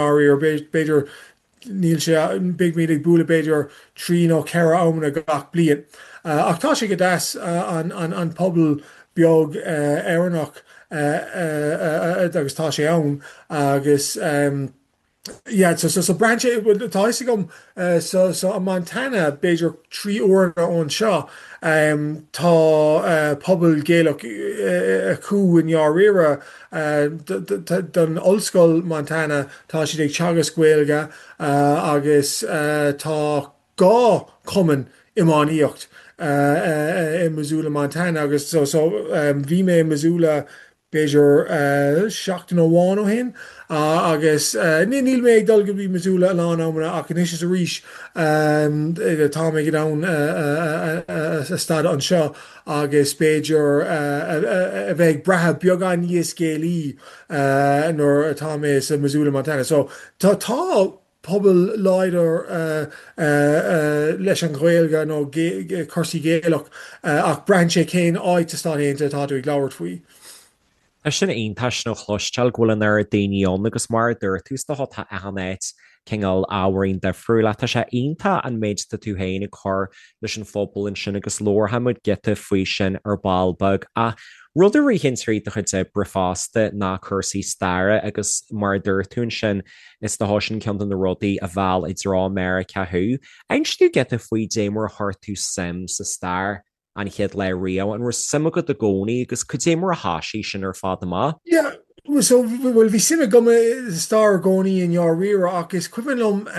ndáiríre, b'fhéidir níl sé, beimid ag bualadh b'fhéidir 3 nó 4 amanna gach bliain. Ach tá sé go deas an pobal beag Éireannach agus tá sé ann agus yeah so so braitheann sé, bhuel tá a fhios agam so so i Montana b'fhéidir 3 uaireanna ó anseo tá pobal Gaelach acu i ndáiríre don Ollscoil Montana tá siad ag teagasc Gaeilge agus tá 2 chumann iománaíocht i Missoula Montana agus so so bhí mé i Missoula b'fhéidir seachtain amháin ó shin agus níl mé ag dul go dtí Missoula a lán amanna ach anois is arís tá mé in ann a stad anseo agus b'fhéidir a bheith ag brath beagán níos Gaelaí nuair atá mé sa Missoula Montana. So tá tá pobal láidir leis an Ghaeilge nó cúrsaí Gaelach ach braitheann sé cén áit sa Stáit Aontaithe atá tú ag labhairt faoi. Tá sin iontach sin a chloisteáil go bhfuil an oiread daoine ann agus mar a dúirt tú is dócha tá achan áit cineál ábhairín difriúil ach tá sé iontach an méid atá tú féin ag cur leis an phobal ansin agus labharfaidh muid giota faoi sin ar ball beag. Ach rud a ritheann tríd do chuid oibre fosta ná cúrsaí staire agus mar a dúirt tú ansin is dócha sin ceann de na rudaí a mheall i dtreo Meiriceá thú. Inis dúinn giota faoi dé mar a chuir tú suim sa stair an chéad lá riamh, an raibh suim agat i gcónaí agus cad é mar a thoisigh sin ar fad amach? Yeah, so, bhuel, bhí suim agam i stair i gcónaí i ndáiríre ach is cuimhin liom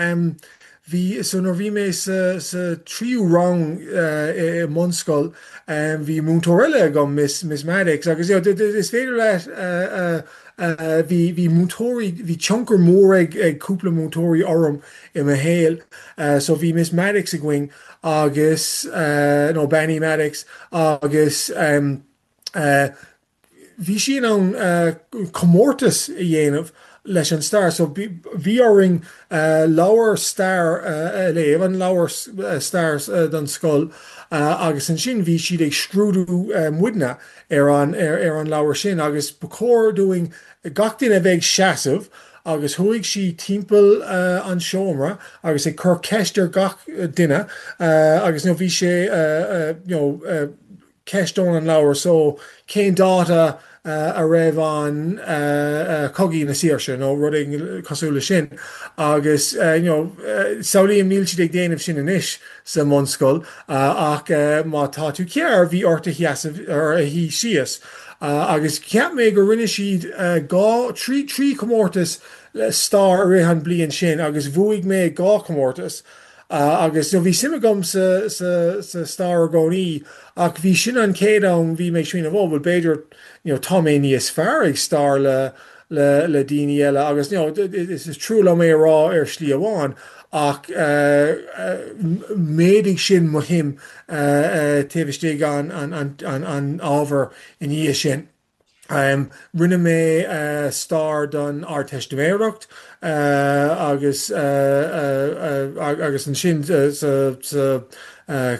bhí, so nuair a bhí mé sa, sa tríú rang i mbunscoil bhí múinteoir eile agam, Miss, Miss Maddox agus you know, is féidir leat bhí, bhí múinteoirí, bhí tionchar mór ag, ag cúpla múinteoirí orm i mo shaol. So bhí Miss Maddox againn agus, nó Bean Uí Maddox, agus bhí sí in ann comórtas a dhéanamh leis an stair. So bhí orainn leabhar stair a léamh, an leabhar stair don scoil, agus ansin bhí siad ag scrúdú muidne ar an ar an leabhar sin agus ba chóir dúinn gach duine a bheith ag seasamh agus chuaigh sí timpeall an seomra agus ag cur ceist ar gach duine agus you know bhí sé you know ceist ón an leabhar so cén dáta a raibh an Cogaí na Saoirse nó rud éigin cosúil le sin agus you know samhlaím níl siad ag déanamh sin anois sa mbunscoil ach má tá tú cearr bhí ort a sheasamh or a shuí síos. Agus cheap mé go rinne siad 2, 3, 3 chomórtas stair i rith an bliain sin agus bhuaigh mé 2 chomórtas. Agus you know bhí suim agam sa, sa, sa stair i gcónaí ach bhí sin an chéad am bhí mé ag smaoineamh oh bhuel b'fhéidir you know tá mé níos fearr ag stair le, le, le daoine eile agus you know is, is trua liom é a rá ar shlí amháin ach mhéadaigh sin mo shuim taobh istigh an, an, an, an ábhar I ndiaidh sin, rinne mé stair don Ardteistiméireacht agus agus ansin sa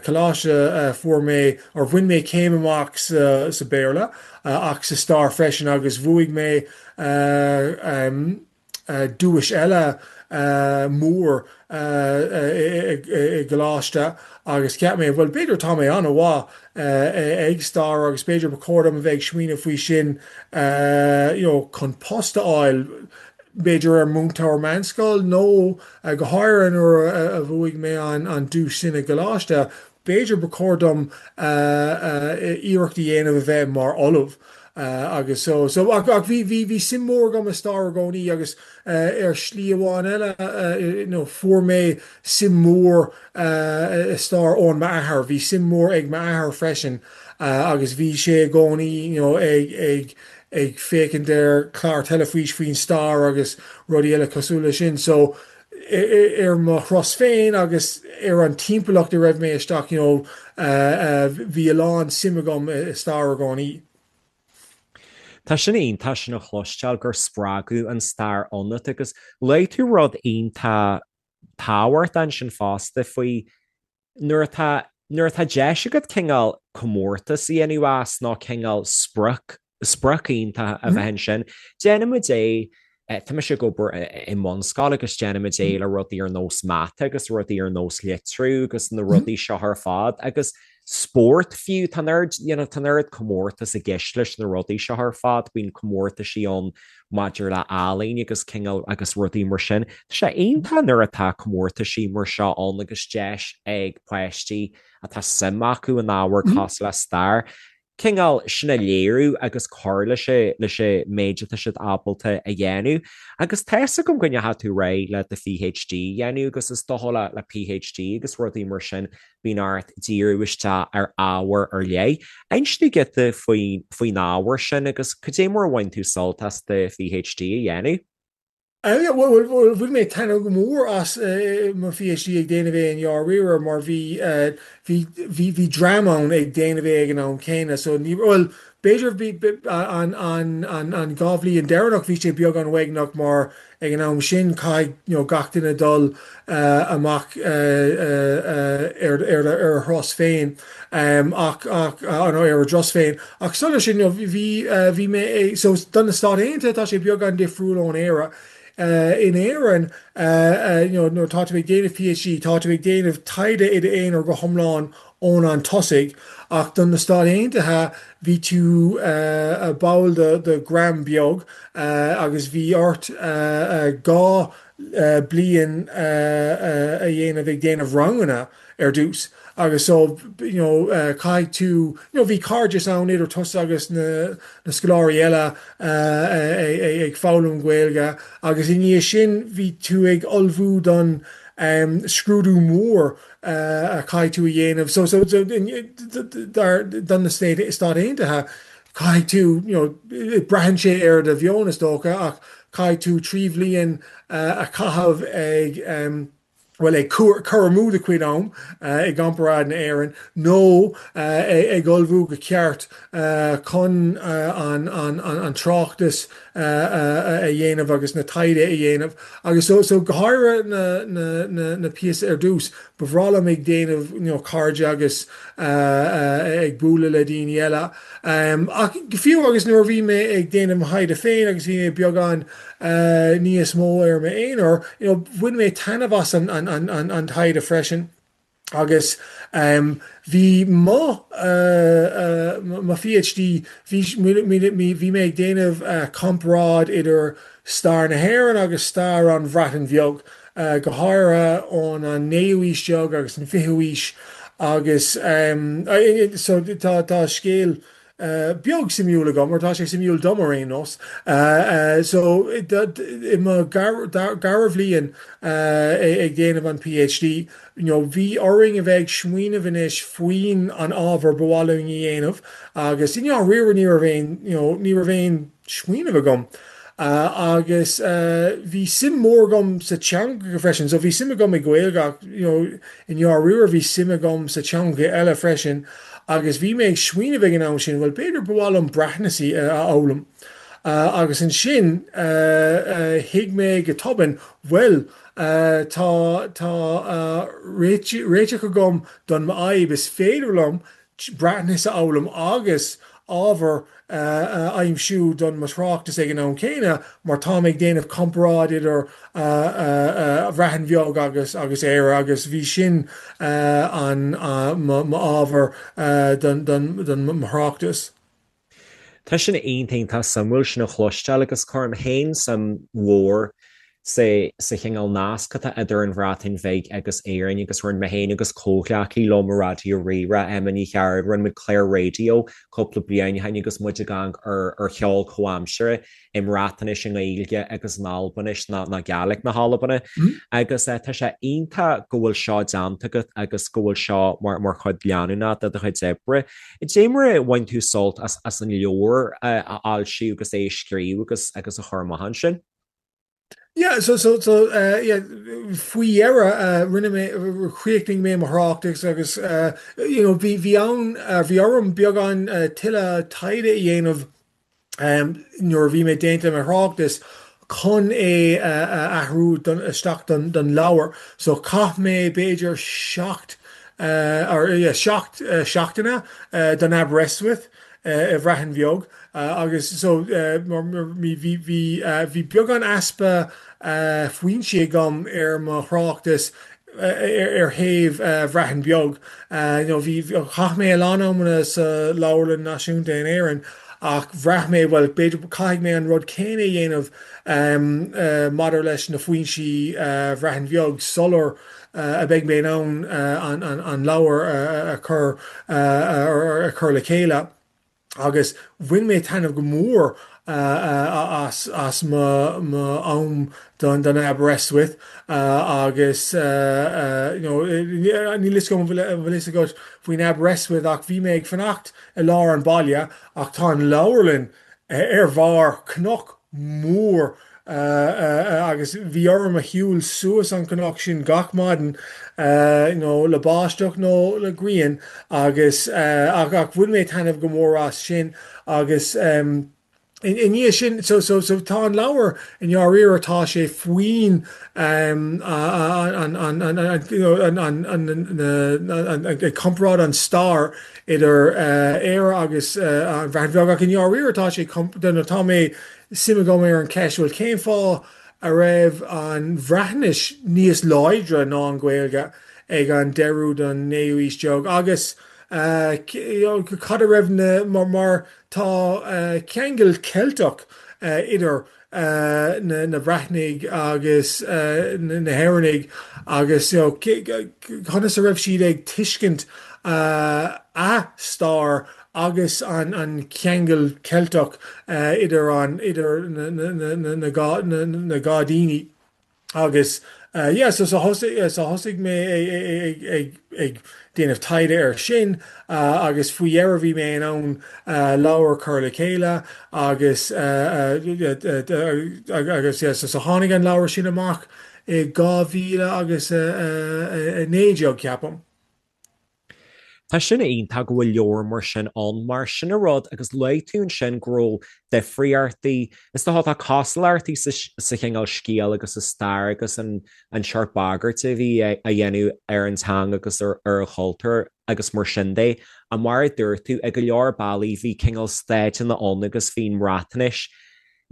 choláiste fuair mé, or bhain mé céim amach sa Béarla ach sa stair freisin agus bhuaigh mé duais eile mór i gcoláiste agus cheap mé, bhuel, b'fhéidir tá mé an-mhaith ag stair agus b'fhéidir ba chóir dom a bheith ag smaoineamh faoi sin you know chun post a fháil, b'fhéidir ar múinteoir meánscoil nó go háirithe nuair a bhuaigh mé an duais sin i gcoláiste, B'fhéidir ba chóir dom iarracht a dhéanamh a bheith mar ollamh agus so so ach ach bhí bhí bhí suim mór agam i stair i gcónaí agus ar shlí amháin eile you know fuair mé suim mór i stair ón m'athair. Bhí suim mór ag m'athair freisin agus bhí sé i gcónaí you know ag ag ag féachaint ar chlár teilifís faoin stair agus rudaí eile cosúil leis sin so ar mo thuras féin agus ar an timpeallacht a raibh mé isteach you know bhí a lán suim agam i stair i gcónaí. Tá sin iontach sin a chloisteáil gur spreagadh an stair ionat agus luaigh tú rud iontach tábhachtach ansin fosta faoi nuair atá, nuair atá deis agat cineál comórtas a dhéanamh as nó cineál sprioc, sprioc iontach a bheith ansin, déanfaidh muid é. Tá mise ag obair i mbunscoil agus déanaimid é le rudaí ar nós mata agus rudaí ar nós litriú agus na rudaí seo ar fad agus spórt fiú, tá an oiread, you know, tá an oiread comórtas i gceist leis na rudaí seo ar fad, bíonn comórtaisí ann maidir le ealaín agus cineál agus rudaí mar sin. Tá sé iontach nuair atá comórtaisí mar seo ann agus deis ag páistí atá suim acu in ábhar cosúil le stair, cineál sin a léiriú agus cur leis an leis an méid atá siad ábalta a dhéanamh. Agus tá fhios agam go ndeachaigh tú ar aghaidh le do PhD a dhéanamh agus is dócha le le PhD agus rudaí mar sin bíonn ort díriú isteach ar ábhar ar leith. Inis dúinn giota faoin faoin ábhar sin agus cad é mar a bhain tú sult as do PhD a dhéanamh? Bhuel, bhain mé taitneamh go mór as mo PhD ag déanamh é i ndáiríre mar bhí, bhí, bhí, bhí dream ann ag déanamh é ag an am céanna so ní, bhuel, b'fhéidir bhí, an, an, an, an dá bhliain deireanach bhí sé beagán uaigneach mar ag an am sin caithfidh, you know, gach duine dul amach ar, ar, ar a thuras féin ach, ach, nó ar a dturas féin. Ach sula sin, you know, bhí, bhí mé ag, so do na Stáit Aontaithe tá sé beagán difriúil ón Éire. In Éirinn, you know, nuair atá tú ag déanamh PhD, tá tú ag déanamh taighde i d'aonar go hiomlán ón an tosaigh, ach do na Stáit Aontaithe bhí tú ball de de dhream beag agus bhí ort 2 bliain a dhéanamh ag déanamh ranganna. ar dtús agus so you know caithfidh tú you know bhí cairdeas ann idir tusa agus na na scoláirí eile ag foghlaim Gaeilge agus i ndiaidh sin bhí tú ag ullmhú don scrúdú mór a chaithfidh tú a dhéanamh so so dar don na Stáit Aontaithe caithfidh tú you know braitheann sé ar do mheon is dócha ach caithfidh tú 3 bhliain a chaitheamh ag bhuel, ag cur amú do chuid am i gcomparáid na Éireann, nó ag ullmhú go ceart chun an tráchtas a dhéanamh agus na taighde a dhéanamh. Agus so, so go háirithe na píosa ar dtús, ba bhreá liom ag déanamh you know cairde agus ag bualadh le daoine eile. Ach fiú agus nuair a bhí mé ag déanamh mo thaighde féin agus bhí mé beagán níos mó ar m'aonar, you know, bhain mé taitneamh as an an taighde freisin agus bhí mo mo PhD, bhí bhí mé ag déanamh comparáid idir stair na hÉireann agus stair an Bhreatain Bheag, go háirithe ón an naoú haois déag agus an fichiú haois agus so tá tá scéal beag suimiúil agam, mar tá sé suimiúil dom ar aon nós. So i mo dhara bhliain ag déanamh an PhD, you know, bhí orainn a bheith ag smaoineamh anois faoin an ábhar ba mhaith linn a dhéanamh agus i ndáiríre ní raibh aon, you know, ní raibh aon smaoineamh agam. Agus bhí suim mór agam sa teanga freisin, so bhí suim agam i Gaeilge ach you know i ndáiríre bhí suim agam sa teanga eile freisin agus bhí mé ag smaoineamh ag an am sin, bhuel b'fhéidir ba mhaith liom Breatnais a fhoghlaim. Agus ansin thuig mé go tobann, bhuel tá tá réiteach agam don m'fhadhb, is féidir liom Breatnais a fhoghlaim agus ábhar a aimsiú don mo thráchtas ag an am céanna mar táim ag déanamh comparáid idir Bhreatain Bheag agus agus Éire agus bhí sin an m'ábhar don don mo thráchtas. Tá sin iontach iontach suimiúil sin a chloisteáil agus cuirim féin suim mhór sa sa chineál nasc atá idir an Bhreatain Bheag agus Éirinn agus rinne mé féin agus comhghleacaí liom i Raidió Rí-Rá, Emma Ní Chearúil, rinne muid clár raidió cúpla bliain ó shin agus muid ag amharc ar ar cheol comhaimseartha i mBreatnais, i nGaeilge agus in Albainis ná ná Gàidhlig na hAlban. Agus tá sé iontach go bhfuil seo déanta agat agus go bhfuil seo mar mar chuid leanúnach de do chuid oibre. Cad é mar a bhain tú sult as as an leabhar a fhoilsiú agus é a scríobh agus agus a chur amach ansin? Yeah, so, so, so, uh, yeah, faoi dheireadh, uh, rinne mé, chríochnaigh mé mo thráchtas agus, uh, you know, bhí, bhí ann, uh, bhí orm beagán, uh, tuilleadh taighde a dhéanamh, um, nuair a bhí mé déanta mo thráchtas chun é a athrú don, isteach don, don leabhar. So chaith mé b'fhéidir 7, uh, or, yeah, 7 uh, seachtaine, uh, don Aberystwyth. i Bhreatain Bheag agus so bhí bhí bhí beagán easpa foinsí agam ar mo thráchtas ar thaobh Bhreatain Bheag. You know bhí chaith mé a lán amanna sa Leabharlann Náisiúnta in Éirinn ach bhraith mé bhuel b'fhéidir caithfidh mé an rud céanna a dhéanamh maidir leis na foinsí Bhreatain Bheag sular a beidh mé in ann an leabhar a chur a chur le chéile. Agus bhain mé taitneamh go mór as as mo mo am don don Aberystwyth agus you know níl fhios agam an bhfuil an bhfuil fhios agat faoin Aberystwyth ach bhí mé ag fanacht i lár an baile ach tá an leabharlann ar bharr cnoc mór agus bhí orm a shiúl suas an cnoc sin gach maidin you know le báisteach nó le grian agus ach ach bhain mé taitneamh go mór as sin agus i ndiaidh sin so so so tá an leabhar i ndáiríre tá sé faoin an an an an an you know an an an an ag comparáid an stair idir Éire agus an Bhreatain Bheag ach i ndáiríre tá sé tá mé suim agam ar an cheist bhuel cén fáth a raibh an Bhreatnais níos láidre ná an Ghaeilge ag an deireadh den naoú aois déag agus cad a raibh na mar tá ceangal Ceilteach idir na Breatnaigh agus na hÉireannaigh agus conas a raibh siad ag tuiscint a stair agus an ceangal Ceilteach idir an idir na dhá daoine. Agus yeah so so thosaigh so thosaigh mé ag ag ag déanamh taighde air sin agus faoi dheireadh bhí mé in ann leabhar a chur le chéile agus agus yeah so so tháinig an leabhar sin amach i 2019 ceapaim. Tá sin iontach go bhfuil leabhar mar sin ann, mar sin an rud agus luaigh tú ansin go raibh difríochtaí, is dócha tá cosúlachtaí sa chineál scéal agus sa stair agus an seort bagairt a bhí á dhéanamh ar an teanga agus ar an chultúr agus mar sin de. Ach mar a dúirt tú, i go leor bealaí bhí cineál stáiteanna ann agus bhí an Bhreatnais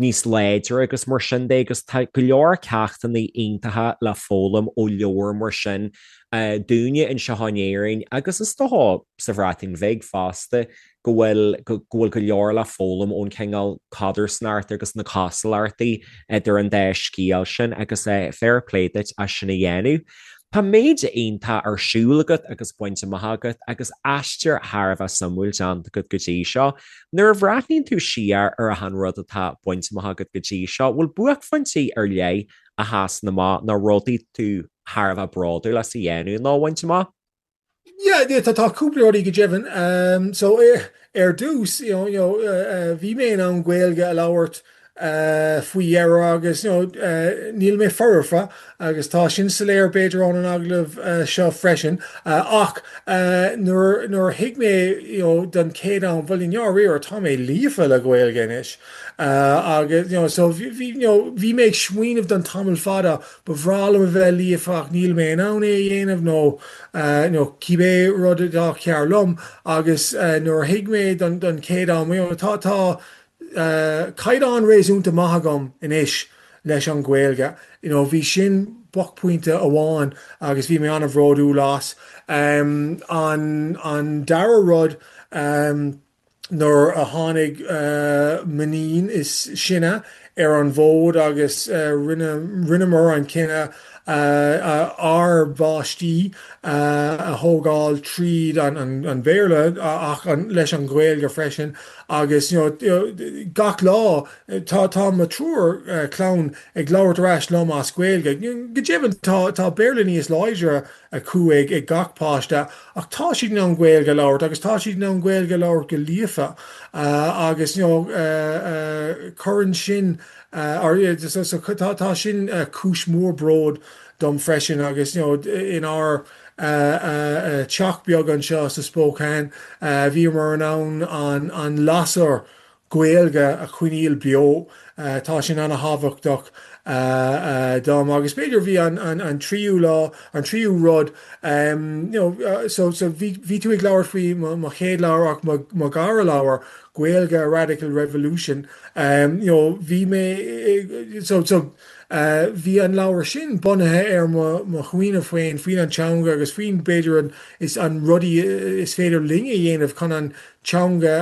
níos láidre agus mar sin de agus tá go leor ceachtanna iontacha le foghlaim ó leabhar mar sin dúinne anseo in Éirinn agus is dócha sa Bhreatain Bheag fosta go bhfuil go bhfuil go leor le foghlaim ón cineál codarsnacht agus na cosúlachtaí idir an dá scéal sin agus fair play duit as sin a dhéanamh. Tá méid iontach ar siúl agat agus bainte amach agat agus aistear thar a bheith suimiúil déanta agat go dtí seo. Nuair a bhreathnaíonn tú siar ar achan rud atá bainte amach agat go dtí seo, bhfuil buaicphointí ar leith a sheasann amach nó rudaí tú thar a bheith bródúil as a dhéanamh nó a bhaint amach? Yeah, yeah, tá tá cúpla rudaí go deimhin. Um, so ar, ar dtús, you know, you know, uh, uh, bhí mé in ann Gaeilge a labhairt faoi dheireadh agus you know níl mé foirfe agus tá sin soiléir b'fhéidir ón an agallamh seo freisin ach nuair nuair a thuig mé you know don chéad am bhuel i ndáiríre tá mé líofa le Gaeilge anois agus you know so bhí you know bhí mé ag smaoineamh don tamall fada ba bhreá liom a bheith líofa ach níl mé in ann é a dhéanamh nó you know cibé rud atá cearr liom agus nuair a thuig mé don don chéad am you know tá tá caighdeán réasúnta maith agam anois leis an Ghaeilge. You know, bhí sin buaicphointe amháin agus bhí mé an-bhródúil as. An an dara rud, nuair a tháinig m'iníon is sine ar an bhfód agus rinne rinneamar an cinneadh ár bpáistí a thógáil tríd an Bhéarla ach leis an Ghaeilge freisin agus you know gach lá tá tá mo triúr clann ag labhairt ar ais liom as Gaeilge. Go deimhin tá tá Béarla níos láidre acu ag ag gach páiste ach tá siad in ann Gaeilge a labhairt agus tá siad in ann Gaeilge a labhairt go líofa agus you know cuireann sin so tá tá sin cúis mhór bróid dom freisin agus you know inár teach beag anseo sa Spokane bhíomar in ann an an lasair Gaeilge a choinneáil beo. Tá sin an-thábhachtach. dom agus b'fhéidir bhí an an tríú lá, an tríú rud you know so so bhí bhí tú ag labhairt faoi mo mo chéad leabhar ach mo mo dhara leabhar Gaeilge a Radical Revolution you know bhí mé so so bhí an leabhar sin bunaithe ar mo mo smaoineamh féin faoin an teanga agus faoin b'fhéidir an is an rudaí is féidir linn a dhéanamh chun an teanga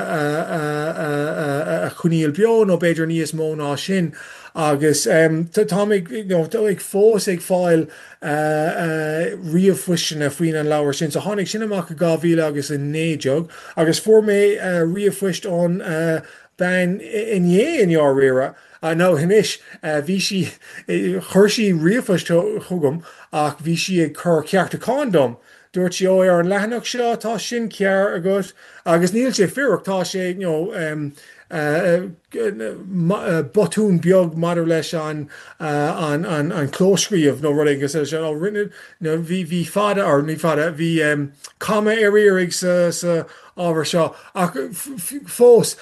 a choinneáil beo nó b'fhéidir níos mó ná sin agus táim ag you know ag fós ag fáil ríomhphoisteanna faoin an leabhar sin. So tháinig sin amach i 2000 agus 19 agus fuair mé ríomhphoist ón bean inné i ndáiríre nó anois bhí sí chuir sí ríomhphost chugam ach bhí sí ag cur ceartúcháin dom Dúirt sí, Ó, ar an leathanach seo, tá sin cearr agat. Agus níl sé fíor ach tá sé, you know, botún beag maidir leis an, an, an, an clóscríobh nó rud éigin cosúil leis sin. Ó, rinne, nó bhí, bhí fada, or ní fada, bhí comma ar iarraidh sa, sa ábhar seo. Ach fós,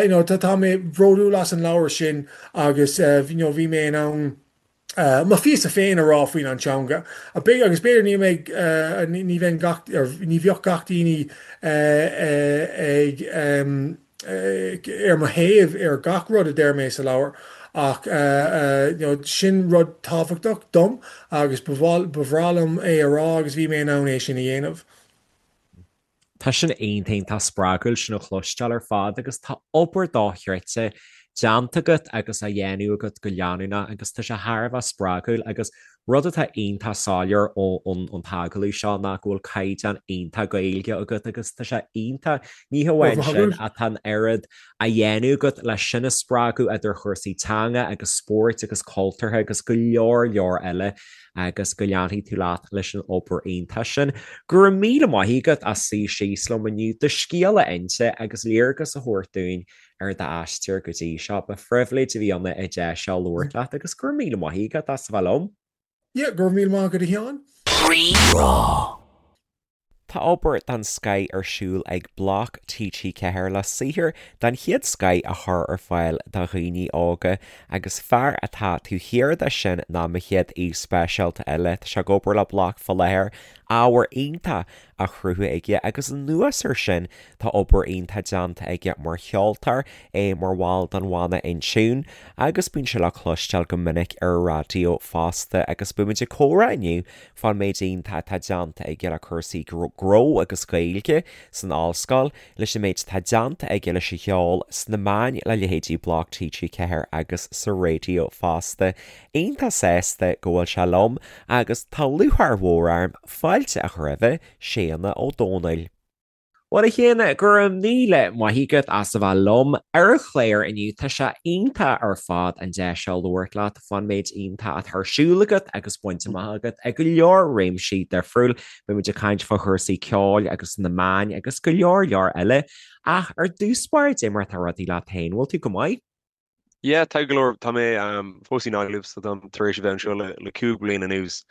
you know, tá, tá mé bródúil as an leabhar sin agus, you know, bhí mé in ann, mo phíosa féin a rá faoin an teanga. Agus b'fhéidir ní mbeidh, ní bheinn gach, ní bheadh gach daoine ag, ar mo thaobh ar gach rud a deir mé sa leabhar ach you know sin rud tábhachtach dom agus ba bhreá liom é a rá agus bhí mé in ann é sin a dhéanamh. Tá sin iontach iontach spreagúil sin a chloisteáil ar fad agus tá obair dochreidte déanta agat agus á dhéanamh agat go leanúnach agus tá sé thar a bheith spreagúil agus rud atá iontach soiléir ón t-agallamh seo ná go bhfuil caighdeán iontach Gaeilge agat agus tá sé iontach, ní hamháin sin ach tá an oiread á dhéanamh agat leis sin a spreagadh idir chúrsaí teanga agus spóirt agus cultúrtha agus go leor leor eile agus go leanfaidh tú leat leis an obair iontach sin. Go raibh míle maith agat as suí síos liom inniu, do scéal a inse agus léargas a thabhairt dúinn ar d'aistear go dtí seo. Ba phribhléid a bhí ann an deis seo labhairt leat agus go raibh míle maith agat as a bheith liom. Yeah, go raibh míle maith agat a Sheáin. Rí-Rá. Tá obair den scoth ar siúl ag Bloc TG4 le saothar den chéad scoth a chur ar fáil do dhaoine óga agus fear atá taobh thiar de sin ná mo chéad aoi speisialta eile. Tá sé ag obair le Bloc fá láthair, ábhar iontach á chruthú aige agus anuas air sin tá obair iontach déanta aige mar cheoltóir, é mar bhall den bhanna InTune agus bíonn sé le cloisteáil go minic ar an raidió fosta agus beimid ag comhrá inniu fán méid iontach atá déanta aige le cúrsaí gnó agus Gaeilge san ollscoil, leis an méid atá déanta aige leis an cheol, sna meáin le leithéidí Bloc TG4 agus sa raidió fosta. Iontach sásta go bhfuil sé liom agus tá lúcháir mhór orm fáilte a chur roimhe, Séanna Ó Domhnaill. Bhuel, a Shéanna, go raibh míle maith agat as a bheith liom ar an chlár inniu. Tá sé iontach ar fad an deis seo labhairt leat fán méid iontach atá ar siúl agat agus bainte amach agat i go leor réimsí difriúil. Beimid ag caint fá chúrsaí ceoil agus na meáin agus go leor leor eile. Ach ar dtús báire, cad é mar atá rudaí leat féin, bhfuil tú go maith? Yeah, tá go leor, tá mé fós i nGaillimh so táim tar éis a bheith anseo le le 5 bliana anuas.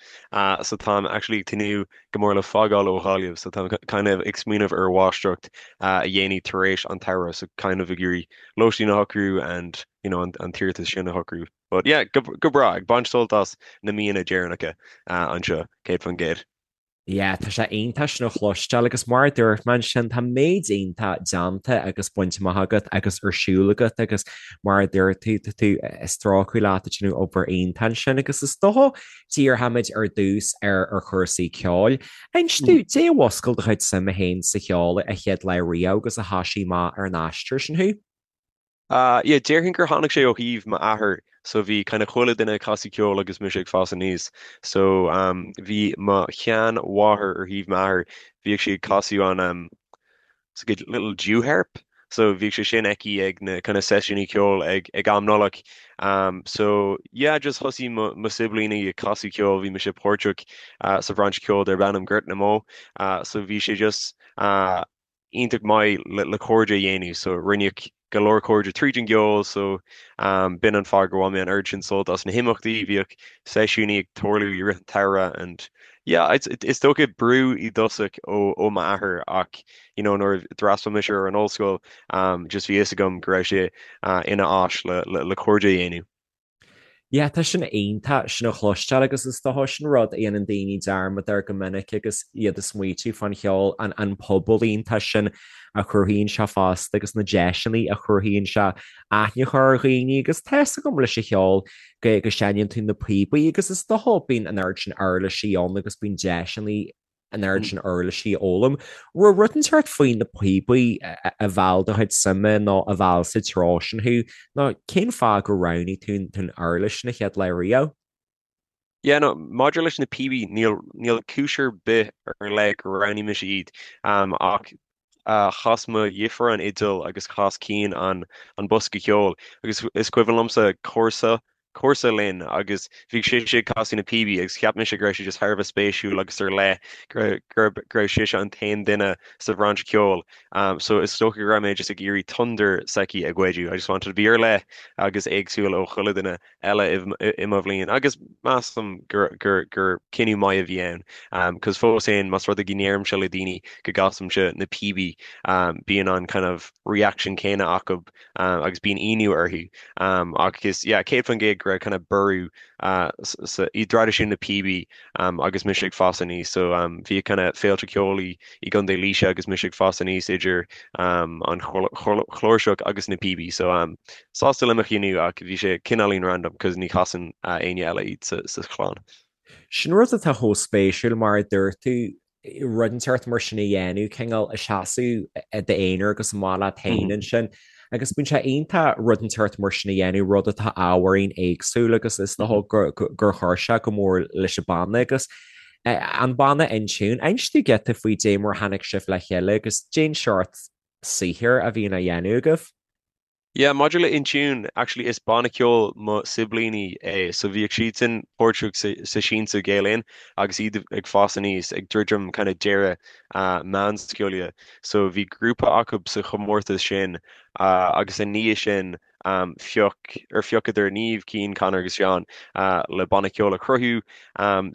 So táim actually ag tnúth go mór le fágáil ó Ghaillimh so táim kind of ag smaoineamh ar mháistreacht a dhéanamh tar éis an tsamhraidh so kind of ag iarraidh lóistín a shocrú and you know an an t-iarratas sin a shocrú. But yeah, go go breá, ag baint sult as na míonna deireanacha anseo, 100%. Yeah, tá sé iontach sin a chloisteáil agus mar a dúirt mé ansin, tá méid iontach déanta agus bainte amach agat agus ar siúl agat agus mar a dúirt tú, tá tú ag strácáil leat ag déanamh obair iontach ansin agus is dócha díreoimid ar dtús ar ar chúrsaí ceoil. Inis domh, cad é a mhúscail do chuid suime féin sa cheol a chéad lá riamh agus a thoisigh amach ar an aistear sin thú? Ah, yeah, déarfainn gur tháinig sé ó thaobh m'athair, so bhí kind of chuile duine ag casadh ceoil agus mise ag fás aníos. So, um, bhí mo sheanmháthair ar thaobh m'athair, bhíodh sí ag casadh an, um, it's like a little Jew harp, so bhíodh sé sin aici ag na kind of seisiúnaí ceoil ag, ag am Nollag. Um, so, yeah, just thosaigh mo, mo siblíní ag casadh ceoil, bhí mise páirteach, uh, sa bhrainse ceoil darb ainm Gort na mBó, uh, so bhí sé just, uh, iontach maith le cairde a dhéanamh so rinneadh go leor cairde tríd an gceol so b'in an fáth gur bhain mé an oiread sin sult as na himeachtaí, bhíodh seisiúnaí ag tarlú i rith an tsamhraidh and yeah it's is dócha brú i dtosach ó ó m'athair ach you know nuair a d'fhreastail mise ar an ollscoil just bhí fhios agam go raibh sé ina áis le le le cairde a dhéanamh. Yeah, tá sin iontach sin a chloisteáil agus is dócha sin rud a dhéanann daoine dearmad air go minic agus iad ag smaoitiú fán cheol, an an pobal iontach sin a chruthaíonn sé fosta agus na deiseanna a chruthaíonn sé aithne a chur ar dhaoine agus tá 'fhios agam leis an cheol go go seinneann tú na píobaí agus is dócha bíonn an oiread sin uirlisí ann agus bíonn deiseanna an oiread sin uirlisí a fhoghlaim. Raibh rud inteacht faoi na píobaí a mheall do chuid suime nó a mheall sa treo sin thú, nó cén fáth gur roghnaigh tú an uirlis na chéad lá riamh? Yeah, no, maidir leis na píobaí, níl, níl cúis ar bith ar leith gur roghnaigh mise iad, ach chas mo dheirfiúr an fhidil agus chas Cian an an bosca ceoil agus is cuimhin liomsa comharsa comharsa linn agus bhí sise ag casadh na píobaí agus cheap mise go raibh sé just thar a bheith spéisiúil agus ar leith go go raibh sise an t-aon duine sa bhrainse ceoil. So is dócha go raibh mé just ag iarraidh tonder s'aici a ghoideadh. I just wanted to be ar leith agus éagsúil ó chuile duine eile i mo bhliain agus measaim gur gur gur cinneadh maith a bhí ann. Cos fós féin más rud é go ndeirimse le daoine go gcasaimse na píobaí bíonn an kind of reaction céanna acu agus bíonn ionadh orthu. Ach is yeah 100% go raibh kind of borradh sa i dtraidisiún na píobaí agus mise ag fás aníos. So bhí kind of féilte ceoil i i gContae Laoise agus mise ag fás aníos idir an chláirseach agus na píobaí. So sásta le mo chinneadh ach bhí sé cineáilín random cos ní chasann éinne eile iad sa chlann. Sin rud atá chomh spéisiúil mar a dúirt tú, rud inteacht mar sin a dhéanamh, cineál ag seasamh i d'aonar agus amach leat féin ansin. Agus bíonn sé iontach rud inteacht mar sin a dhéanamh, rud atá ábhairín éagsúil agus is dócha gur chuir sé go mór leis an banna agus an banna InTune. Inis dúinn giota faoi dé mar a tháinig sibh le chéile agus dén seort saothair a bhíonn á dhéanamh agaibh. Yeah, maidir le InTune, actually is banna ceoil mo siblíní é, so bhíodh siadsan páirteach sa sa Siansa Gael Linn agus iad ag fás aníos, ag druidim kind of deireadh meánscoile. So bhí grúpa acu sa chomórtas sin agus i ndiaidh sin phioc, or phiocadar Niamh, Cian, Conor agus Seán le banna ceoil a chruthú.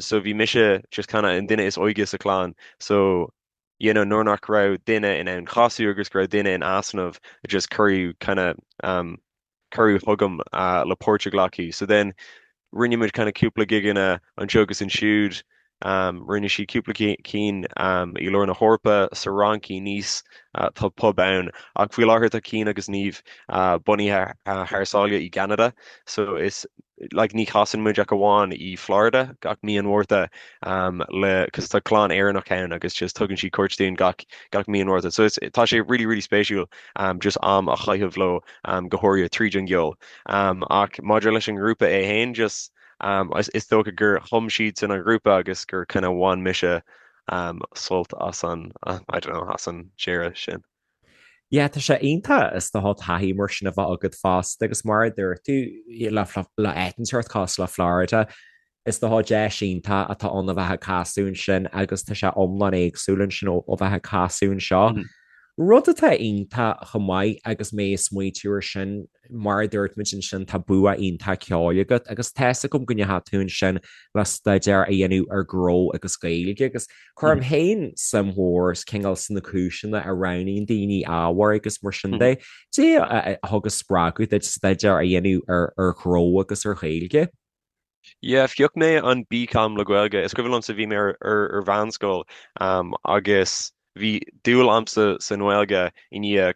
So bhí mise just kind of an duine is óige sa chlann, so you know nuair nach raibh duine in ann casadh agus go raibh duine in easnamh just cuireadh kind of um cuireadh chugam uh le páirt a ghlacadh. So then rinne muid kind of cúpla gigeanna anseo agus ansiúd um rinne siad cúpla cinn um i lár na hEorpa, sa Fhrainc, i Nice uh tá pub ann ach faoi láthair tá Cian agus Niamh uh bunaithe uh thar sáile i gCeanada so is like ní chasann muid ach amháin i Florida gach mí an Mhárta um le cos tá clann Éireannach ann agus just tugann siad cuairt dúinn gach gach mí an Mhárta. So it's tá sé really really spéisiúil um just am a chaitheamh leo um go háirithe tríd an gceol. Um ach maidir leis an ngrúpa é féin just um is is dócha gur chum siadsan an grúpa agus gur kind of bhain mise um sult as an I don't know as an deireadh sin. Yeah, tá sé iontach is dócha taithí mar sin a bheith agat fosta agus mar a dúirt tú le le áit inteacht cosúil le Florida, is dócha deis iontach atá ann a bheith ag casadh ansin agus tá sé iomlán éagsúil ansin ó bheith ag casadh anseo. Rud atá iontach chomh maith agus mé ag smaoitiú ar sin, mar a dúirt muid ansin, tá bua iontach ceoil agat agus tá 'fhios agam go ndeachaigh tú ansin le staidéar a dhéanamh ar ghnó agus Gaeilge agus Cuirim féin suim mhór cineál sna cúiseanna a roghnaíonn daoine ábhair agus mar sin de. Dé a thug an spreagadh duit staidéar a dhéanamh ar ghnó agus ar Ghaeilge? Yeah, phioc mé an BCom le Gaeilge. Is cuimhin liomsa bhí mé ar mheánscoil agus bhí dúil a'msa sa nGaeilge i ndiaidh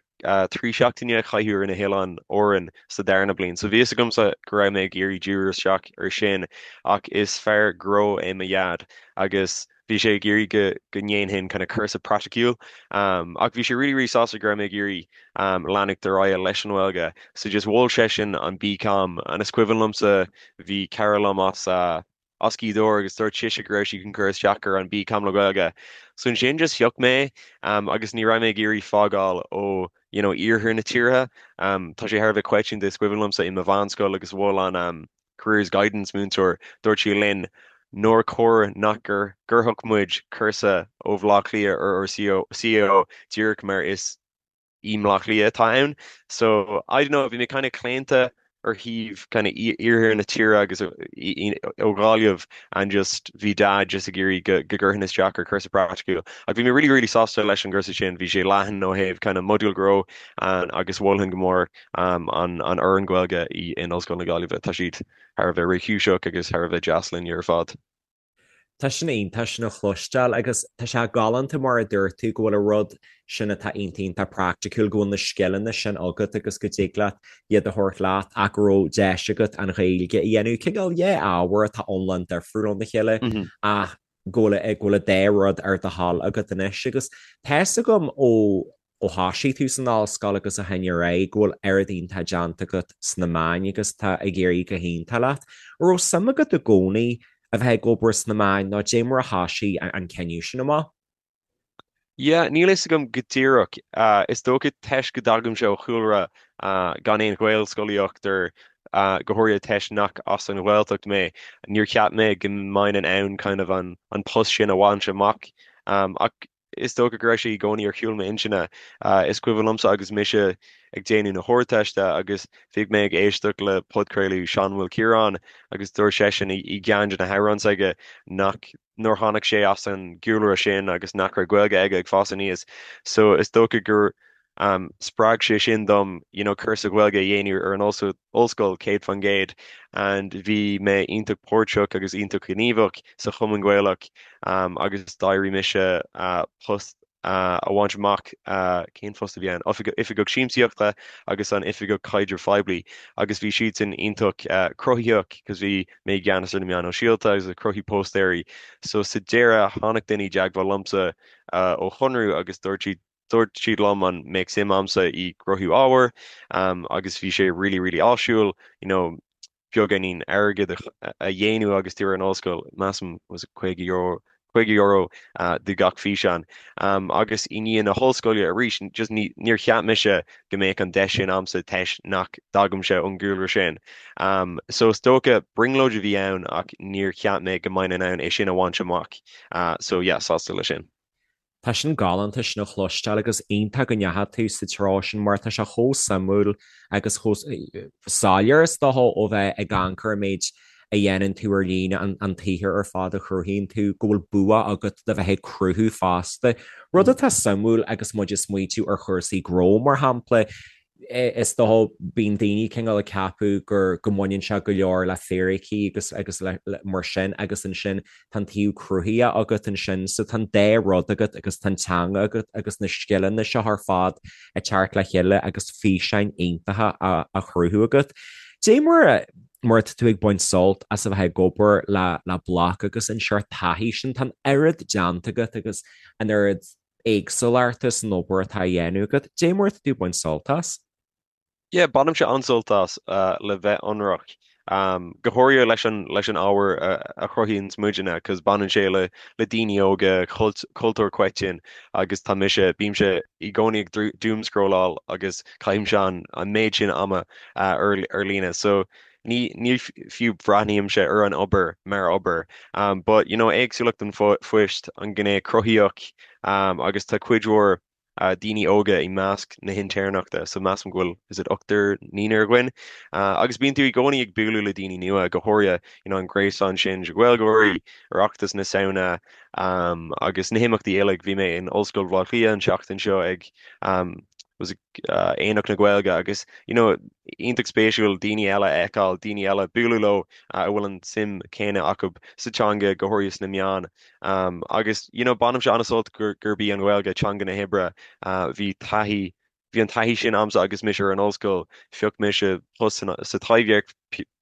3 seachtaine a chaitheamh ar na hOileáin Árann sa darna bliain. So bhí fhios agamsa go raibh mé ag iarraidh díriú isteach ar sin ach is fear gnó é mo dhaid agus bhí sé ag iarraidh go go ndéanfainn kind of cúrsa praiticiúil. Ach bhí sé really really sásta go raibh mé ag iarraidh leanacht ar aghaidh leis an nGaeilge. So just mhol seisean an BCom and is cuimhin liomsa bhí cara liom as as Gaoth Dobhair agus dúirt sise go raibh sí chun cur isteach ar an BCom le Gaeilge. So ansin just phioc mé agus ní raibh mé ag iarraidh fágáil ó you know iarthar na tíre. Tá sé thar a bheith coitianta is cuimhin liomsa i mo mheánscoil agus mhol an careers guidance múinteoir, dúirt sí linn nár chóir nach gcuirfeadh muid cúrsa ó Bhaile Átha Cliath ar ár CAO díreach mar is i mBleá Cliath atá ann. So, I don't know, bhí mé kind of claonta. ar thaobh kind of iarthar na tíre agus ó Ghaillimh and just bhí Dad just ag iarraidh go go gcuirfinn isteach ar chúrsa praiticiúil. Ach bhí mé really really sásta leis an gcúrsa sin, bhí sé leathan ó thaobh kind of modúl gnó and agus mholfainn go mór um, an an fhoireann Gaeilge i in Ollscoil na Gaillimhe. Tá siad thar a bheith réchúiseach agus thar a bheith deas linn ar fad. Tá sin iontach sin a chloisteáil agus tá sé galánta mar a dúirt tú go bhfuil an rud sin atá iontach iontach praiticiúil, go bhfuil na scileanna sin agat agus go dtig leat iad a thabhairt leat ach go raibh deis agat an Ghaeilge a dhéanamh. Cineál yeah ábhar atá iomlán difriúil óna chéile ach go bhfuil go bhfuil an dá rud ar do thoil agat anois agus tá fhios agam ó ó thoisigh tú san ollscoil agus ó shin ar aghaidh go bhfuil oiread iontach déanta agat sna meáin agus tá ag éirí go hiontach leat. An raibh suim agat i gcónaí a bheith ag obair sna meáin nó dé mar a thoisigh an cinneadh sin amach? Yeah, níl fhios agam go díreach. Is dócha toisc go dtagaimse ó chúlra gan aon Ghaelscolaíocht or go háirithe toisc nach as an Ghaeltacht mé, níor cheap mé go mbeinn in ann kind of an post sin a bhaint amach. Ach Is dócha go raibh sé i gcónaí ar chúl m'intinne. Is cuimhin liomsa agus mise ag déanamh na hArdteiste agus bhíodh mé ag éisteacht le podchraoladh Seán Maol Ciaráin agus dúirt seisean i gceann de na hamhráin s'aige nach nár tháinig sé as an gcúlra sin agus nach raibh Gaeilge aige ag fás aníos. So is dócha gur spreag sé sin dom you know cúrsa Gaeilge a dhéanamh ar an ollscoil 100% and bhí mé iontach páirteach agus iontach gníomhach sa Chumann Gaelach agus d'éirigh mise post a bhaint amach, cén phost a bhí ann? Oifigeach Siamsaíochta agus an Oifigeach Caidrimh Phoiblí agus bhí siadsan iontach cruthaitheach cos bhí mé i gceannas ar na meáin shóisialta agus ag cruthú póstaeirí so sa deireadh tháinig duine i dteagmháil liomsa ó Chonradh agus dúirt siad Dúirt siad liom an mbeadh suim a'msa i gcruthú ábhair agus bhí sé really really áisiúil you know beagáinín airgid a dhéanamh agus tú ar an ollscoil, measaim was it €50 €50 do gach físeán. Agus i ndiaidh na hollscoile arís just ní níor cheap mise go mbeadh an deis sin a'msa toisc nach dtagaimse ón gcúlra sin. So is dócha brionglóid a bhí ann ach níor cheap mé go mbeinn in ann é sin a bhaint amach. So yeah, sásta leis sin. Tá sin galánta sin a chloisteáil agus iontach go ndeachaigh tú sa treo sin mar tá sé chomh suimiúil agus chomh soiléir is dócha ó bheith ag amharc ar an méid a dhéanann tú ar líne, an tsaothar ar fad a chruthaíonn tú, go bhfuil bua agat le bheith ag cruthú fosta. Rud atá suimiúil agus muid ag smaoitiú ar chúrsaí gnó mar shampla, is dócha, bíonn daoine cineál ag ceapadh gur, go mbaineann sé go leor le fíricí agus, agus le, le, mar sin agus ansin tá an taobh cruthaithe agat ansin so tá an dá rud agat agus tá an teanga agat agus na scileanna seo ar fad ag teacht le chéile agus físeáin iontacha á, á chruthú agat. Dé mar a, mar atá tú ag baint sult as a bheith ag obair le, le Bloc agus an seort taithí sin, tá an oiread déanta agat agus an oiread éagsúlachta san obair atá á dhéanamh agat. Dé mar atá tú ag baint sult as? Yeah, bainimse an-sult as, le bheith ionraic. Go háirithe leis an leis an ábhar a chruthaíonns muidne, 'cause baineann sé le le daoine óga, cultúr coiteann agus tá mise, bímse i gcónaí ag doomscrolláil agus caithimse an an méid sin ama ar ar líne. So Ní ní fiú breathnaímse ar an obair mar obair. But you know éagsúlacht an phoist, an gné cruthaitheach agus tá cuid mhór daoine óga i measc na hintéirneachta so measaim go bhfuil is it ochtar naonúr againn. Agus bíonn tú i gcónaí ag bualadh le daoine nua, go háirithe you know an gréasán sin de Ghaeilgeoirí, Oireachtas na Samhna agus na himeachtaí uilig. Bhí mé in Ollscoil Bhaile Átha Cliath an tseachtain seo ag was it Aonach na Gaeilge agus you know iontach spéisiúil daoine eile a fheiceáil, daoine eile bualadh leo a bhfuil an tsuim chéanna acu sa teanga, go háirithe sna meáin. Agus you know bainimse an-sult gurb í an Ghaeilge teanga na hoibre. Bhí taithí, bhí an taithí sin a'msa agus mise ar an ollscoil, phioc mise post sa Taibhdhearc,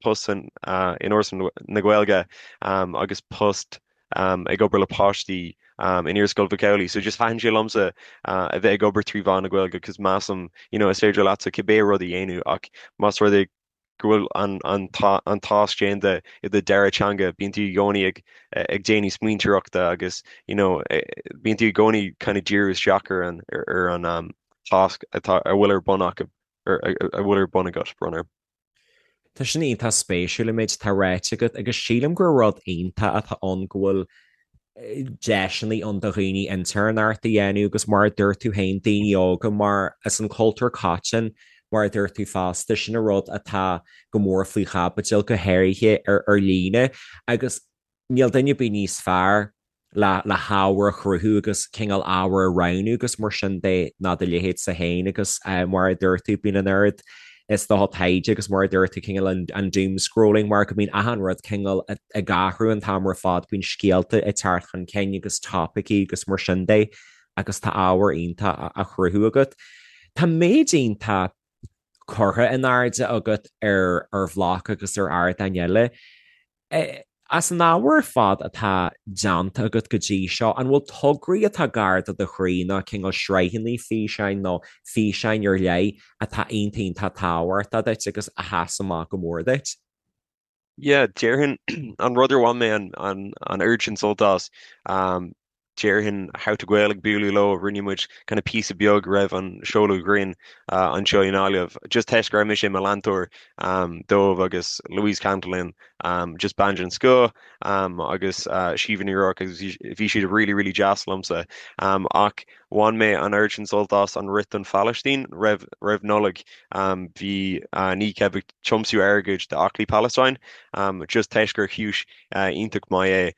post in Fhoras na Gaeilge agus post ag obair le páistí in Iarscoil Mhic Amhlaigh. So just thaitin sé liomsa a bheith ag obair trí mheán na Gaeilge cos measaim you know is féidir leatsa cibé rud a dhéanamh ach más rud é go bhfuil an an an tasc déanta i do dara teanga bíonn tú i gcónaí ag ag déanamh smaointeoireachta agus you know bíonn tú i gcónaí kind of díriú isteach ar an ar an um, tasc atá a bhfuil ar bun acu ar a bhfuil ar bun agat brón orm. Tá sin iontach spéisiúil an méid atá ráite agat agus sílim gur rud iontach atá ann go bhfuil deiseanna ann do dhaoine intéirneacht a dhéanamh agus mar a dúirt tú féin daoine óga mar is an cultúr coiteann. mar a dúirt tú fosta, sin an rud atá go mór faoi chaibidil, go háirithe ar ar líne agus níl duine ar bith níos fearr le le hábhar a chruthú agus cineál ábhar a roghnú agus mar sin de ná do leithéidse féin agus mar a dúirt tú, bíonn an oiread is dócha taighde agus mar a dúirt tú cineál an an doom scrolling mar go mbíonn achan rud cineál ag athrú an t-am ar fad, bíonn scéalta ag teacht chun cinn agus topaicí agus mar sin de agus tá ábhar iontach á chruthú agat. Tá méid iontach curtha in airde agat ar ar Bhloc agus ar ardáin eile. As an ábhar ar fad atá déanta agat go dtí seo, an bhfuil tograí atá gar do do chroí nó cineál sraitheanna físeáin nó físeáin ar leith atá iontach iontach tábhachtach duit agus a sheas amach go mór duit? Yeah, déarfainn an rud ar bhain mé an an oiread sin sult as, déarfainn How to Gael ag bualadh leo, rinne muid kind of píosa beag roimh an seoladh grinn anseo i nGaillimh, just toisc go raibh mise i mo leantóir dóibh agus Louise Cantillon, just bean den scoth agus Síomha Ní Ruairc agus bhí siad really really deas liomsa. Ach bhain mé an oiread sin sult as an Rith don Phalaistín roimh roimh Nollaig. Bhí Kneecap ag tiomsú airgid d'Aclaí Palestine just toisc gur cúis iontach maith é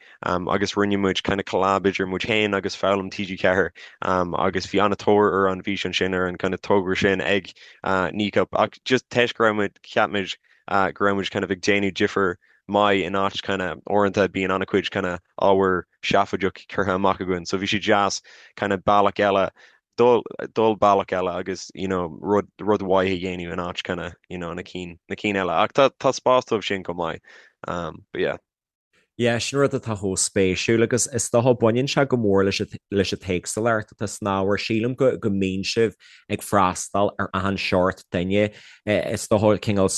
agus rinne muid kind of collab idir muid féin agus Foghlaim TG4 agus bhí an-tóir ar an bhfíseán sin ar an kind of togra sin ag Kneecap ach just toisc go raibh muid cheap muid go raibh muid kind of ag déanamh difear maith in áit kind of uaireanta bíonn an-chuid kind of ábhar seafóideach curtha amach againn so bhí sé deas kind of bealach eile dul dul bealach eile agus you know rud rud mhaith a dhéanamh in áit kind of you know na cinn na cinn eile ach tá tá spás dóibh sin chomh maith um but yeah. Yeah, sin rud atá chomh spéisiúil agus is dócha baineann sé go mór leis an leis an t-éagsúlacht atá san ábhar. Sílim go go mbíonn sibh ag freastal ar achan seort duine. Is dócha cineál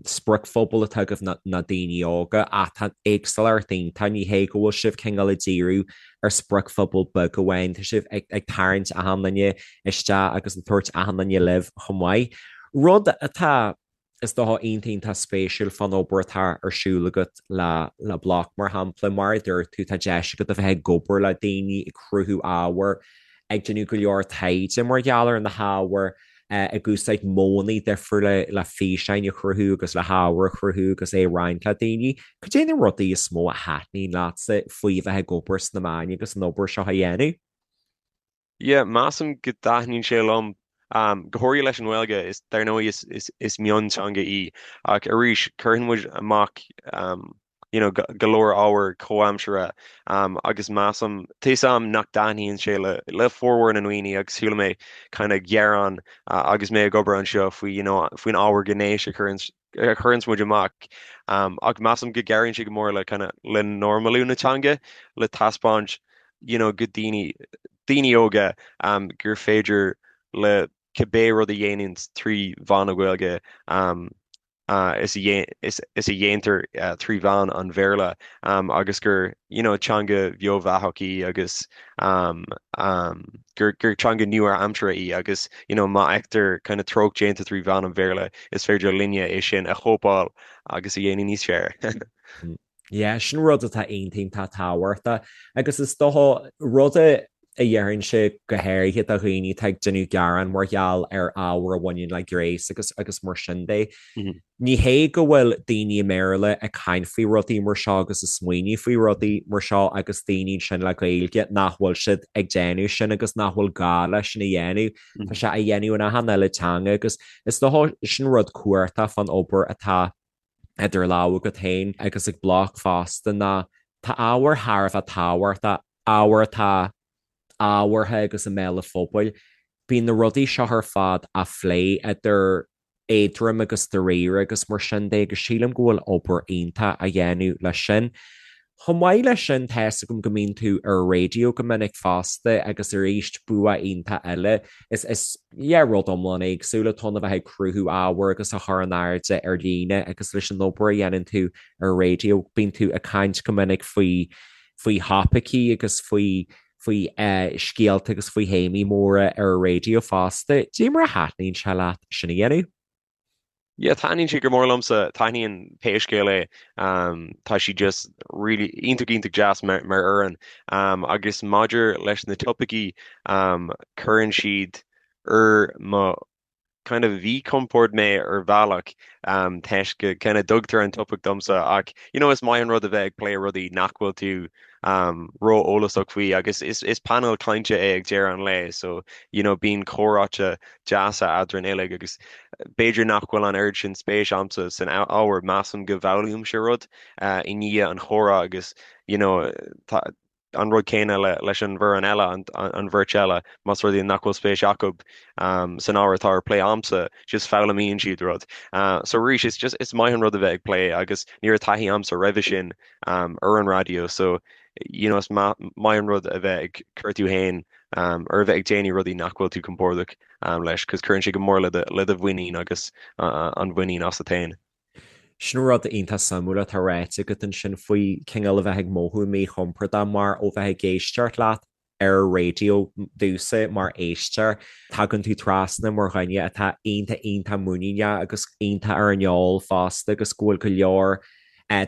spriocphobal atá agaibh ná daoine óga ach tá éagsúlacht iontach, ní hé go bhfuil sibh cineál ag díriú ar spriocphobal beag amháin, tá sibh ag tarraingt achan duine isteach agus ag tabhairt achan duine libh chomh maith. Rud atá, is dócha, iontach iontach spéisiúil fán obair atá ar siúl agat le le Bloc, mar shampla, mar a dúirt tú, tá deis agat a bheith ag obair le daoine, ag cruthú ábhair, ag déanamh go leor taighde mar gheall ar na hábhair, ag úsáid modhanna difriúla le físeáin a chruthú agus le hábhar a chruthú agus é a roinnt le daoine. Cad é na rudaí is mó a thaitníonn leatsa faoi a bheith ag obair sna meáin agus an obair seo a dhéanamh? Yeah, measaim go dtaitníonn sé liom, go háirithe leis an nGaeilge, is dar ndóigh is is is mionteanga í, ach arís cuireann muid amach you know, go leor ábhar comhaimseartha agus measaim, tá a fhios a'm nach dtaitníonn sé le le formhór na ndaoine agus chuala mé kind of gearán agus mé ag obair anseo faoi you know, faoin ábhar gnéis a chuireann a chuireanns muid amach ach measaim go gcabhraíonn sé go mór le kind of le normalú na teanga le taispeáint you know, go daoine daoine óga gur féidir le cibé rud a dhéanann trí mheán na Gaeilge is a dhéantar trí mheán an Bhéarla agus gur you know teanga bheo bheathach í agus gur gur teanga nua-aimseartha í agus you know má fheictear kind of treocht déanta trí mheán an Bhéarla is féidir linne é sin a chóipeáil agus a dhéanamh níos fearr. Yeah, sin rud atá iontach iontach tábhachtach agus is dócha rud a déarfainnse go háirithe do dhaoine atá ag déanamh gearán mar gheall ar ábhar a bhaineann le gnéas agus agus mar sin de. Ní hé go bhfuil daoine i mBéarla ag caint faoi rudaí mar seo agus ag smaoineamh faoi rudaí mar seo agus daoine ansin le Gaeilge nach bhfuil siad ag déanamh sin agus nach bhfuil gá leis sin a dhéanamh. Tá sé á dhéanamh in achan uile teanga agus is dócha sin rud cumhachtach fán obair atá idir lámha agat féin agus ag Bloc fosta ná tá ábhar thar a bheith tábhachtach, ábhar atá ábhartha agus i mbéal an phobail. Bíonn na rudaí seo ar fad á phlé idir éadrom agus dáiríre agus mar sin de agus sílim go bhfuil obair iontach á dhéanamh leis sin. Chomh maith leis sin, tá fhios agam go mbíonn tú ar an raidió go minic fosta agus arís bua iontach eile. Is, is, yeah, rud iomlán éagsúil atá ann a bheith ag cruthú ábhair agus a chur in airde ar líne agus leis an obair a dhéanann tú ar an raidió, bíonn tú ag caint go minic faoi, faoi thopaicí agus faoi, faoi eh, scéalta agus faoi théamaí móra ar an raidió fosta. Cad é mar a thaitníonn sé leat sin a dhéanamh? Yeah, taitníonn sé go mór liomsa, taitníonn pé scéal é. Tá sí just really iontach iontach deas mar mar fhoireann. Agus maidir leis na topaicí, cuireann siad ar mo. kind of mhíchompord mé ar bhealach toisc go kind of dtugtar an topaic domsa ach you know is maith an rud a bheith ag plé rudaí nach bhfuil tú ró-eolasach faoi agus is is painéal cainte é ag deireadh an lae so you know bíonn comhráite deasa eadrainn uilig agus b'fhéidir nach bhfuil an oiread sin spéis a'msa san ábhar measaim go bhfoghlaimímse rud i ndiaidh an chomhrá agus you know tá an rud céanna leis an bhfoireann eile, an bheirt eile, más rud é nach bhfuil spéis acu san ábhar atá ar plé a'msa, just foghlaimíonn siad rud. So arís, is just, is maith an rud a bheith ag plé agus ní raibh taithí a'msa roimhe sin ar an raidió so you know is maith an rud a bheith ag cur tú fhéin ar a bheith ag déanamh rudaí nach bhfuil tú compordach leis, 'cause cuireann sé go mór le do mhuinín agus an mhuinín asat fhéin. Sin rud iontach suimiúil atá ráite agat ansin faoi cineál a bheith ag mothú míchompordach mar ó bheith ag éisteacht leat ar an raidió domhsa mar éisteoir, tagann tú trasna mar dhuine atá iontach iontach muiníneach agus iontach ar an eol fosta agus go bhfuil go leor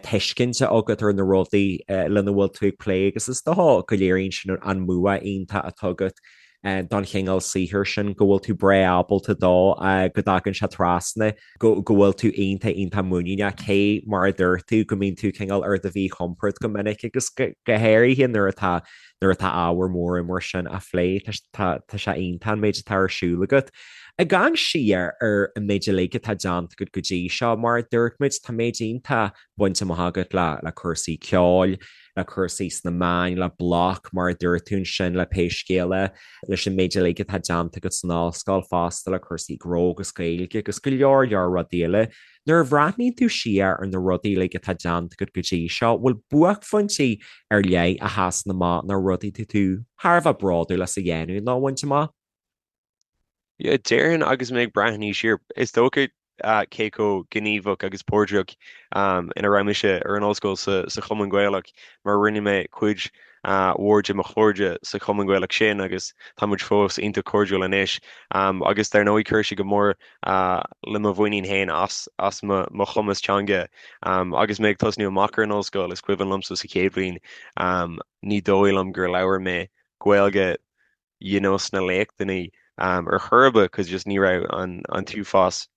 tuiscinte agat ar na rudaí lena bhfuil tú ag plé agus is dócha go léiríonn sin an bua iontach atá agat don chineál saothair sin, go bhfuil tú breá ábalta dó, go dtagann sé trasna, go bhfuil tú iontach, iontach muiníneach, cé mar a dúirt tú, go mbíonn tú cineál ar do mhíchompord go minic agus go háirithe nuair atá, nuair atá ábhar mór mar sin á phlé, tá, tá sé iontach an méid atá ar siúl agat. Ag amharc siar ar an méid uilig atá déanta agat go dtí seo, mar a dúirt muid, tá méid iontach bainte amach agat le, le cúrsaí ceoil, le cúrsaí sna meáin, le Bloc, mar a dúirt tú ansin, le pé scéal é, leis an méid uilig atá déanta agat san ollscoil fosta, le cúrsaí gnó agus Gaeilge agus go leor leor rudaí eile. Nuair a bhreathnaíonn tú siar ar na rudaí uilig atá déanta agat go dtí seo, bhfuil buaicphointí ar leith a sheasann amach nó rudaí atá tú thar a bheith bródúil as a dhéanamh nó a bhaint amach? Yeah, déarfainn agus mé ag breathnú siar, is dócha cé chomh gníomhach agus páirteach ina raibh mise ar an ollscoil sa Chumann Gaelach mar rinne mé cuid mhór de mo chairde sa Chumann Gaelach sin agus tá muid fós iontach cairdiúil anois. Agus dar ndóigh chuir sé go mór le mo mhuinín féin as as mo chumas teanga. Agus mé ag tosnú amach ar an ollscoil, is cuimhin liomsa sa chéad bhliain ní dóigh liom gur labhair mé Gaeilge you know sna léachtanna ar chor ar bith cause just ní raibh an an t-uafás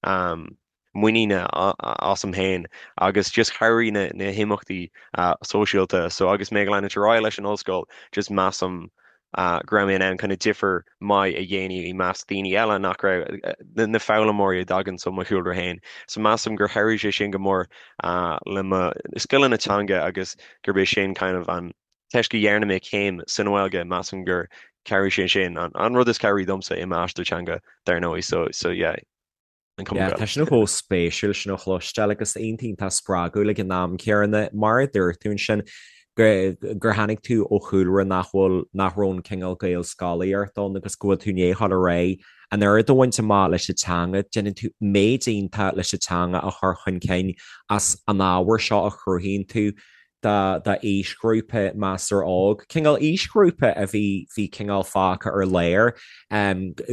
muiníne asam féin agus just chabhraigh na na himeachtaí sóisialta so agus mé ag leanúint ar aghaidh leis an ollscoil just measaim go raibh mé in ann kind of difear maith a dhéanamh i measc daoine eile nach raibh na foghlaimeoirí a dtagann ó mo chúlra féin so measaim gur chabhraigh sé sin go mór le mo scileanna teanga agus gurb é sin kind of an Toisc go dhearna mé céim san Ghaeilge, measaim gur chabhraigh sé sin, an rud is cabhraí domsa i m'aistear teanga, dar ndóigh, so, so yeah, an Cumann Yeah, tá Gaelach. sin chomh spéisiúil sin a chloisteáil agus iontach iontach spreagúil ag an am céanna. Mar a dúirt tú ansin, gur gur tháinig tú ó chúlra nach bhfuil, nach raibh an cineál Gaelscolaíocht ann agus go bhfuil tú i ndiaidh dhul ar aghaidh an oiread a bhaint amach leis an teanga, déanann tú méid iontach leis an teanga a chur chun cinn as an ábhar seo a chruthaíonn tú. d'aoisghrúpa measartha óg, cineál aoisghrúpa a bhí bhí cineál fágtha ar lár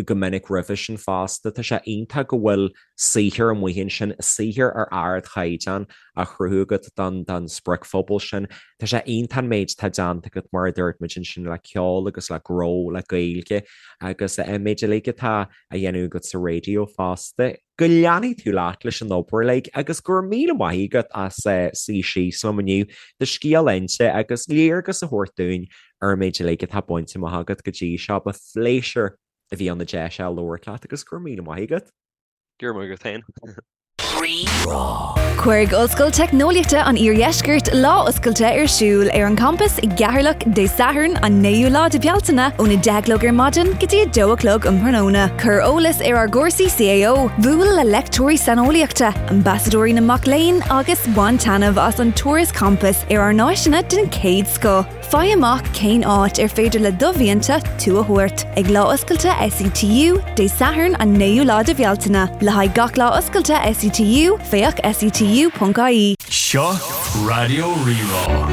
go minic roimhe sin fosta. Tá sé iontach go bhfuil saothar amuigh ansin, saothar ar ardchaighdeán á chruthú agat don don spriocphobal sin. Tá sé iontach an méid atá déanta agat mar a dúirt muid ansin le ceol agus le gnó, le Gaeilge agus an méid uilig atá á dhéanamh agat sa raidió fosta. Go leanfaidh tú leat leis an obair uilig agus go raibh míle maith agat as suí síos liom inniu, do scéal a inse agus léargas a thabhairt dúinn ar an méid uilig atá bainte amach agat go dtí seo. Ba phléisiúr a bhí ann an deis a labhairt leat agus go raibh míle maith agat. Go raibh maith agat féin. Rí-Rá. Cuirfidh Ollscoil Teicneolaíochta an Iardheiscirt lá oscailte ar siúl ar an champas i gCeatharlach Dé Sathairn an 9ú lá de Bhealtaine ón 10 a chlog ar maidin go dtí 2 a chlog um thráthnóna. Cuir eolas ar ár gcúrsaí CAO, buail le leicteoirí saineolaíochta, ambasadóirí na mac léinn agus bain taitneamh as an turas campais ar ár n-áiseanna den chéad scoth. Faigh amach cén áit ar féidir le do mhianta tú a thabhairt ag Lá Oscailte SETU, Dé Sathairn an 9ú lá de Bhealtaine. Le haghaidh gach lá oscailte SETU, féach setu.ie. Seo Raidió Rí-Rá.